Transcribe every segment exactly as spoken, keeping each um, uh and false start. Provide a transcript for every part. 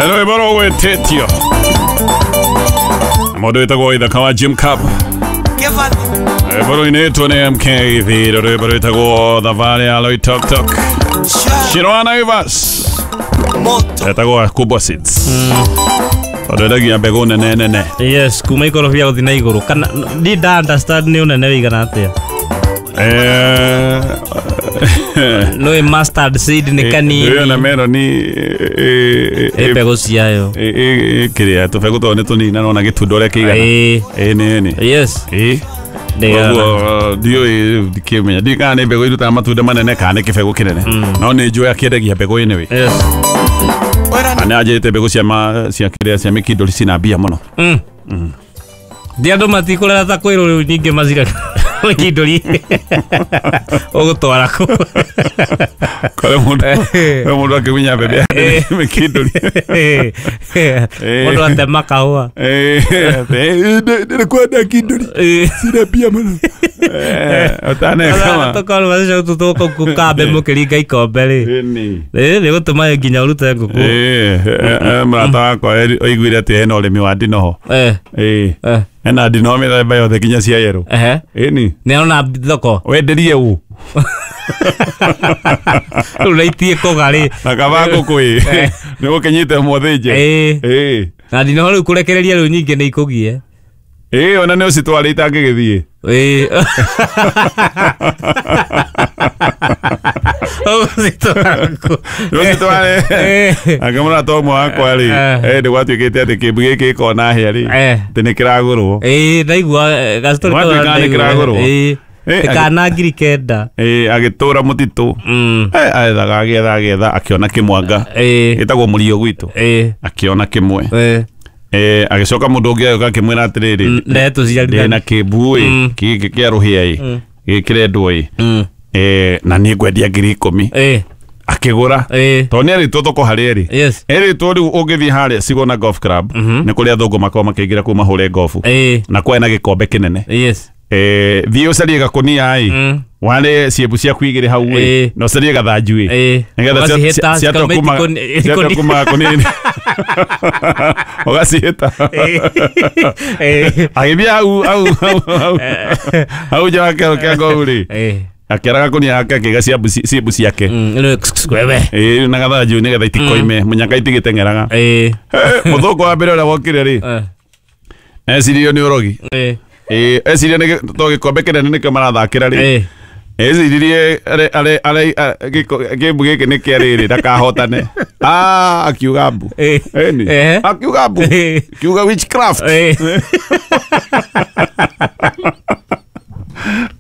Rwĩmbo rũgwĩtĩtio mũndũ wĩtagwo Ithaka wa Jim Cup. Rwĩmbo rũinĩtwo nĩ M K Thiro, rwĩmbo rwĩtagwo Thabarĩ ya Loitoktok. Shirwa Naivas etagwo Kubwa Seeds, tondũ endagia mbegũ nene nene. Yes, kuma ikorobia gũthiĩ na igũrũ kana ndi nda understand nĩ ũnene wĩigana atĩa. Eh, no ĩ mustard seed nĩ kanini. Ĩyo na meloni ĩ mbegũ ciayo kĩrĩa tũbegũ tondũ nĩ tũnini na nona gĩtunda ũrĩa kĩigana. Ĩ ĩ nĩ nĩ yes ĩ nĩ koguo ndiũĩ ndikĩmenya ndiũĩ kana nĩ mbegũ irutaga matunda manene kana nĩ kĩbegũ kĩnene, no nĩ njũĩ akĩendagia mbegũ anyway. Yes. Na nĩ anjĩrĩte mbegũ cia ma cia kĩrĩa cia mĩkindũri cina mbia mũno. Mm. Ndi andũ matikũrera ta kwĩrwo rĩu nyingĩ macira mĩkindũri ũgũtwara kũ. Kore mũndũ kore mũndũ akĩgunya mbembe mĩkindũri. Mũndũ atema kahũa. Ndĩrĩ kwenda kindũri cina mbia mũno. Ũtaneka tũkorwo macicio tũtũkũ kambe mũkĩringa ikombe rĩ. Ĩni. Ĩ nĩ gũtũma nginya ũrute ngũkũ. Ĩ mũrata wakwa oiguire atĩ hena ũrĩmi wa ndinoho. Eh. Ĩ Eh. hena ndinoho mĩthemba yothe nginya cia yerũ. Ehe. Ĩni. Nĩ arona thoko. Wenderie ũ? Rĩu na itie kũga rĩ. Na kaba ngũkũ ĩ. Nĩ gũkĩnyite mũthĩnje. Ĩ. Ĩ. Na ndinoho rĩu kũrekereria rĩu nyingĩ nĩ ikũgie. Ĩ ona nĩ ũcitwarĩte itangĩgĩthiĩ. Ĩ. Ũgũcitwara kũ? Nĩ ũcitware. Anga mũrata ũmwe wakwa rĩ, Eh. nĩ gwatuĩkĩte atĩ kĩmbu gĩkĩ gĩkona hĩa rĩ, Eh. atĩ nĩ kĩragũrwo. Ĩ ndaigua gastori Gwatuĩka nĩ kĩragũrwo. Ĩ. Ĩ, Kana ngiri kenda. Ĩ agĩtũra mũtitũ. Mm. Eh, aethaga agĩetha agĩetha akĩona kĩmwanga. Ĩ. Gĩtagwo mũrio gwitũ. Ĩ. Akĩona kĩmwe. Ĩ. Eh, agĩcoka mũndũ ũngĩ agĩũka akĩmwĩra atĩrĩrĩ, Nde tũciarithania. ndĩna kĩmbu ĩ, Mm. gĩkĩ kĩa rũhĩa ĩ, gĩkĩ kĩrendwo ĩ. Mm. Eh, na niĩ ngwendia ngiri ikũmi. Ĩ. Akĩgũra. Ĩ. Tondũ nĩ erĩtwo thoko harĩa ĩrĩ. Yes. Erĩtwo rĩu ũngĩthiĩ harĩa Sigona Golf Club, nĩ kũrĩa athũngũ makoragwo makĩingĩra kũu mahũre golf. Ĩ. Na kwarĩ na gĩkombe kĩnene. Yes. Eh, thiĩ ũcarie gakũnia ĩ, Mm. ware ciĩmbu ciaku igĩrĩ hau ĩ, Ĩ. na ũcarie gathanju ĩ. Ĩ. Nĩgetha cia- Ũgacihĩta, cia- ciatua cikauma kuma- ikoni- ciatua ikoni- kuma gakũnia-inĩ. Ũgacihĩta. Ĩ. Agĩthiĩ hau hau hau hau hau nja wa kĩharo kĩa ngohu rĩ, Ĩ. akĩara gakũnia gake akĩiga ciambu ci- ciĩmbu ciake. Mm. Rĩu wewe. Ĩ na gathanju nĩgetha itikoime mũnyaka itigĩteng'eraga. Ĩ. Mũthũngũ wa mbere ũrĩa wokire rĩ, Eh. ecirio nĩ ũrogi. Ĩ. Ĩ eciria nĩ gĩ- to gĩkombe kĩnene nĩkĩo marathakĩra rĩ. Ĩ. Eciririe are are are kĩmbu gĩkĩ nĩ kĩa rĩrĩ ndakahotane. Ah, akiuga mbu. Ĩ. Ĩni. Eh. Akiuga mbu. Ĩ. Akiuga witchcraft. Ĩ.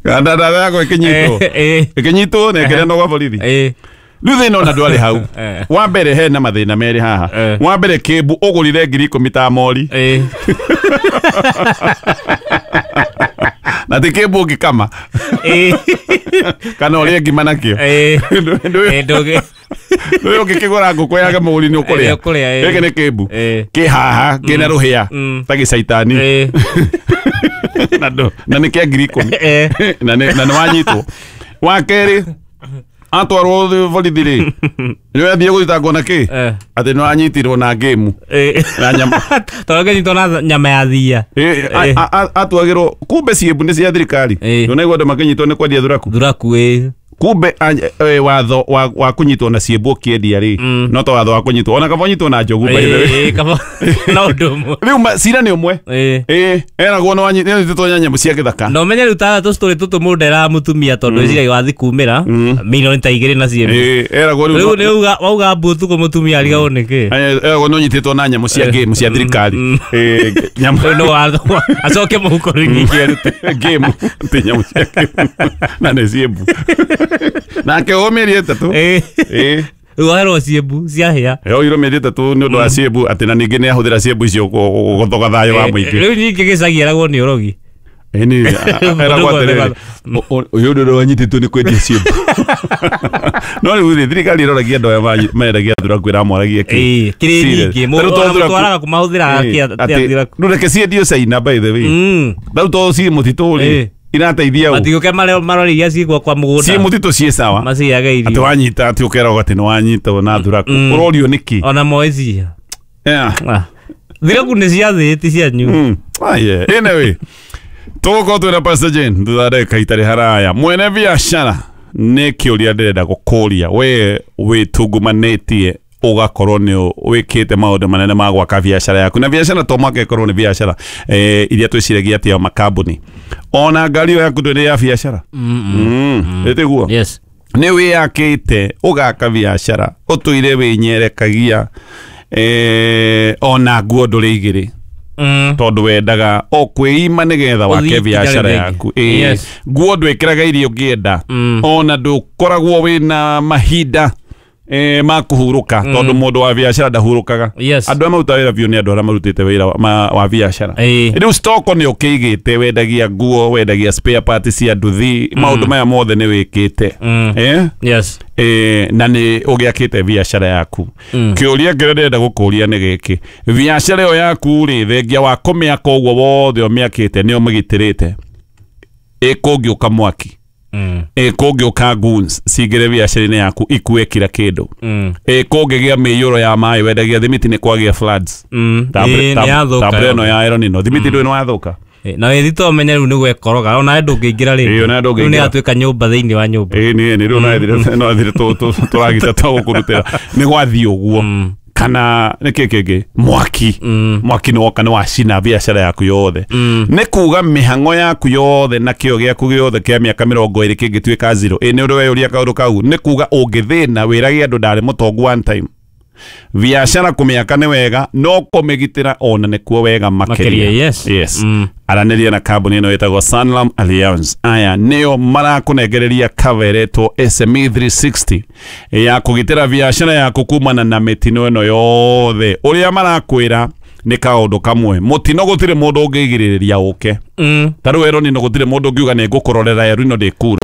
Kana ndatha yakwa ĩkĩnyitwo. Ĩ. Ĩkĩnyitwo na ĩkĩneanwo gwa borithi. Ĩ. Rĩu thĩna ona ndwarĩ hau. Eh. Wa mbere hena mathĩna merĩ haha. Eh. Wa mbere kĩmbu ũgũrire ngiri ikũmi ta mori. Ĩ. Na ti kĩmbu ũngĩkama. Ĩ. Kana ũrĩe ngima nakĩo. Ĩ. Ndũ- ndũ- Ĩ ndũgĩ. Ndũĩ ũngĩkĩgũra ngũkũ ya mũri nĩ ũkũrĩa. Nĩ ũkũrĩa, ĩ. Gĩkĩ nĩ kĩmbu. Ĩ. Kĩ haha kĩna rũhĩa Mm. ta gĩcaitani. Ĩ. Na ndũ- na nĩ kĩa ngiri ikũmi. Ĩ. Na nĩ na nĩ wanyitwo. Wa kerĩ atwarwo borithi rĩ, nĩ athiĩ gũthitangwo na kĩ? Eh. Atĩ nĩ wanyitirwo na ngĩmu. Ĩ. Na nyama. Tondũ ngĩnyitwo na nyama ya thia. Ĩ, a- a- a- atuagĩrwo kumbe ciĩmbu nĩ cia thirikari. Ĩ. Ndũnaigua andũ makĩnyitwo nĩ kwendia thuraku. Thuraku ĩ. Kumbe a- eh, watho wa, wa kũnyitwo na ciĩmbu ũkĩendia rĩ, no ta watho wa kũnyitwo ona kaba ũnyitwo na njogu by the way. Ĩ, kaba na ũndũ ũmwe. Rĩu ma- cira nĩ ũmwe. Ĩ. Ĩ eragwo nĩ wanyi- nĩ wanyitĩtwo na nyamũ cia gĩthaka. Na ũmenye rĩu ta tũcitũrĩ tũtũ mũndũ eraga mũtumia tondũ eciragia wathi kumĩra milioni ta igĩrĩ na ciĩmbu. Ĩ eragwo Rĩu rĩu nĩ uga wauga mbu ũtukũ mũtumia arigagwo nĩkĩ. eragwo nĩ ũnyitĩtwo na nyamũ cia ngĩmu cia thirikari. Ĩ nyamũ Rĩu nĩ watho acoke mũhuko rĩu nyingĩ arute. ngĩmu ti nyamũ cia ngĩmu na nĩ ciĩmbu. Nake o mĩeri ĩtatũ. Ĩ. Ĩ. Rĩu oherwo ciĩmbu ciahĩa. Yoirwo mĩeri ĩtatũ nĩ ũndũ wa ciĩmbu atĩ na ningĩ nĩ ahũthĩra ciĩmbu icio gũ- gũthoga thayũ wa mũingĩ. Rĩu nyingĩ gĩcagi eragwo nĩ ũrogi. Ĩni eragwo atĩrĩrĩ, ũyũ ũndũ ũrĩa wanyitĩtwo nĩ kwendia ciĩmbu. No rĩu rĩ, thirikari ĩroragia andũ aya manyi- mendagia thuraku ĩramwaragia kĩ? Ĩ, kĩrĩ Serious. nyingĩ. Ta rĩu to Ona thuraku- mũtwaraga kũmahũthĩraga Ĩ, kĩa atĩ- thuraku. rĩu reke ciendio China by the way. Mm. Rĩu to ciĩ mũtitũ rĩ, Ĩ. irateithia ũ? Matigũke marore iria ciĩ kwa mũgũnda. Ciĩ mũtitũ ciĩ sawa. Maciage Atĩ irio. wanyita atĩ ũkeragwo atĩ nĩ wanyitwo na thuraku. Ũrorio nĩkĩ? Ona moĩ cia. Yeah. Thiraku nĩ cia thĩ ti cianyu. Aye. Anyway, tũgũkorwo twĩna Pastor Jane thutha ndagĩka itarĩ haraya. Mwene biacara nĩ kĩũria ndĩrenda gũkũria we wĩtungumanĩtie ũgakorwo nĩ wĩkĩte maũndũ manene ma gwaka biacara yaku na biacara to mwaka ĩkorwo nĩ biacara eh, iria twĩciragia atĩ ya makambuni ona ngari ĩyo yaku ndĩrĩ ya biacara ĩtiguo. Yes. Nĩ wĩyakĩte ũgaka biacara ũtũire wĩnyerekagia eh, ona nguo ndũrĩ igĩrĩ Mm. tondu wendaga o kwĩima nĩgetha wake biacara yaku. Yes. Nguo ndwĩkĩraga iria ũngĩenda mm. ona ndũkoragwo wĩna mahinda eh, ma kũhurũka mm. tondu mũndũ wa biacara ndahurũkaga. Yes. Andũ arĩa marutaga wĩra biũ nĩ andũ arĩa marutĩte wĩra wa biacara. Rĩu stock nĩ ũkĩigĩte wendagia nguo wendagia spare parts cia nduthi mm. maũndũ maya mothe nĩ wĩkĩte mm. eh? Yes. Eh, na nĩ ũgĩakĩte biacara yaku mm. Kĩũria kĩrĩa ndĩrenda gũkũria nĩ gĩkĩ biacara ĩyo yaku rĩ thengia wa kũmĩaka ũguo wothe ũmĩakĩte nĩ ũmĩgitĩrĩte ĩkũngĩũka mwaki Mm. ĩkũngĩũka goons cingĩre biacara-inĩ yaku ikue kira kĩndũ mm. ĩkũngĩgĩa mĩiyũro ya maĩ wendagia thimiti nĩ kwagĩa floods mm. tabure ĩno ya El Nino thimiti ndũĩ nĩ wathũka na wĩthito ũmenye rĩu nĩ gwekoroga ona ndũngĩingĩra rĩngĩ rĩu nĩ yatuĩka nyũmba thĩinĩ wa nyũmba ĩĩ nĩ nĩ rĩu no athire tũragita twa gũkũrutĩra nĩ gwathiĩ ũguo kana nĩ kĩ kĩngĩ mwaki mwaki nĩ woka nĩ wacina biacara yaku yothe nĩ kuga mĩhang'o yaku yothe na kĩo gĩaku gĩothe kĩa mĩaka mĩrongo ĩrĩ kĩngĩtuĩka zero ĩ nĩ ũndũ weyũria kaũndũ kau nĩ kuga ũngĩthĩna wĩrage andũ ndarĩ mũtongu one time biacara kũmĩaka nĩ wega no kũmĩgitĩra ona nĩkuo wega makĩria. Yes. Yes. Mm. Aranĩria na kambuni ĩno ĩtagwo Sanlam Alliance aya nĩo marakũnengereria cover ĩretwo S M E three sixty ya kũgitĩra biacara yaku kumana na mĩtino ĩno yothe ũrĩa marakwĩra nĩ kaũndũ kamwe mũtino gũtirĩ mũndũ ũngĩgirĩrĩria ũke mm. ta rĩu El Nino gũtirĩ mũndũ ũngiuga nĩ ngũkũrorera El Nino ndĩkura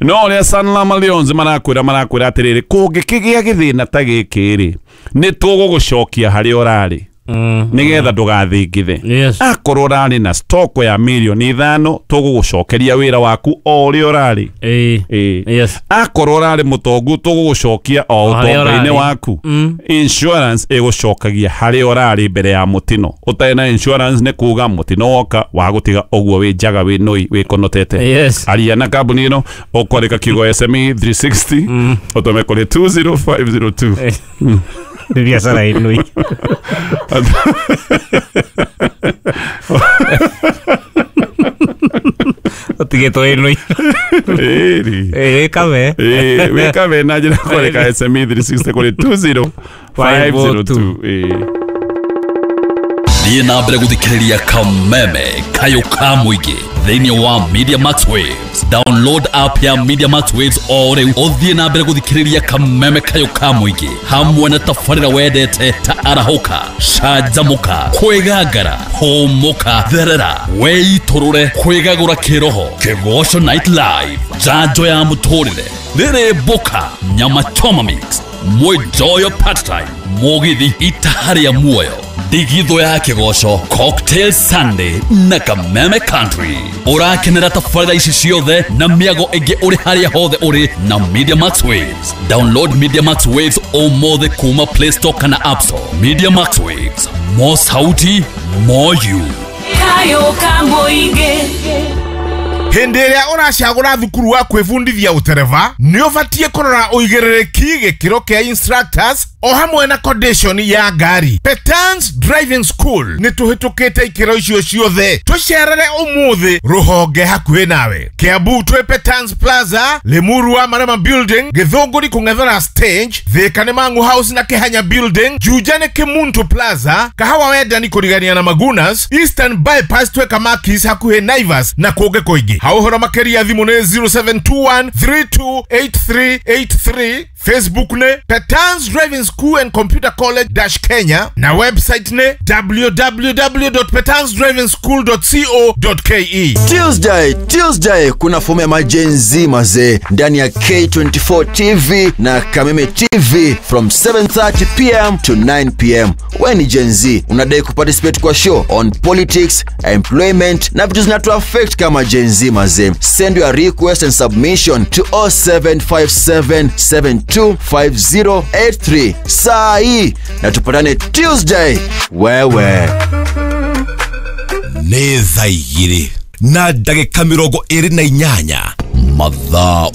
no ũrĩa Sanlam Alliance marakwĩra marakwĩra atĩrĩrĩ kũngĩkĩgĩa gĩthĩna ta gĩkĩ rĩ nĩ tũgũgũcokia harĩa ũrarĩ mm. nĩgetha ndũgathingithe. Yes. Akorwo ũrarĩ na stock ya mirioni ithano tũgũgũcokeria wĩra waku o ũrĩa ũrarĩ. Ĩĩ. Yes. Akorwo ũrarĩ mũtongu tũgũgũcokia o ũtonga-inĩ waku. Mm. Insurance ĩgũcokagia harĩa ũrarĩ mbere ya mũtino ũtarĩ na insurance nĩ kuga mũtino woka wagũtiga ũguo wĩ njaga wĩ nũi wĩkonotete. Yes. Aria na kambuni ĩno ũkwandĩka kiugo S M E three sixty mm. ũtũme kũrĩ two zero five zero two. Nĩ biacara ĩnũi ũtigĩtwo ĩnũi wĩkabe wĩkabe na njĩra kwandĩka S M E three sixty kũrĩ two zero five zero two. Thiĩ na mbere gũthikĩrĩria Kameme Kayũ ka Mũingĩ thĩinĩ wa Media Max Waves. Download app ya Media Max Waves o rĩu ũthiĩ na mbere gũthikĩrĩria Kameme Kayũ ka Mũingĩ hamwe na tabarĩra wendete ta arahũka canjamũka kwĩgangara hũmũka therera weitũrũre kwĩgagũra kĩroho Kĩgoco Night Live njanjo ya mũtũrĩre rĩrĩ mboka nyama choma mix Mwijoyo part time mũgithi itaharĩa muoyo ndigitho ya kĩgoco Cocktail Sunday na Kameme Country. Ũrakenera tabarĩra ici ciothe na mĩago ĩngĩ ũrĩ harĩa hothe ũrĩ na Media Max Waves. Download Media Max Waves ũmũthĩ kuma Play Store kana App Store. Media Max Waves, more sauti, more you. Kayo ka Mũingĩ. Hĩndĩ ĩrĩa ũracagũra thukuru wa kwĩbundithia ũtereba nĩ ũbatiĩ kũrora ũigĩrĩrĩki gĩkĩro kĩa instructors o hamwe na condition ya ngari. Petans Driving School nĩ tũhĩtũkĩte ikĩro icio ciothe tũcerere ũmũthĩ rũhonge hakuhĩ nawe. Kiambu twĩ Petans Plaza, Limuru wa Marema Building, Gĩthũngũri kũng'ethera stage, Thika nĩ Mangu House na Kĩhanya Building, Juja nĩ Kĩmuntu Plaza, Kahawa Wendani kũrigania na Magunas, Eastern Bypass twĩ Kamakis hakuhĩ Naivas na kũngĩ kũingĩ. Hau ũhoro makĩria thimũ nĩ zero seven two one three two eight three eight three, Facebook nĩ Petans Driving School and Computer College dash Kenya na website nĩ w w w dot petans driving school dot co dot k e. Tuesday, Tuesday kuna fomu ya maGen Z mazee ndani ya K twenty-four T V na Kameme T V from seven thirty p m to nine p m. Wewe ni Gen Z, unadai kuparticipate kwa show on politics, employment na vitu zinatu affect kama Gen Z mazee. Send your request and submission to oh seven five seven seven two five zero eight three saa hii na tupatane Tuesday wewe. Nĩ thaa igĩrĩ na ndagĩka mĩrongo ĩrĩ na inyanya Mathaa.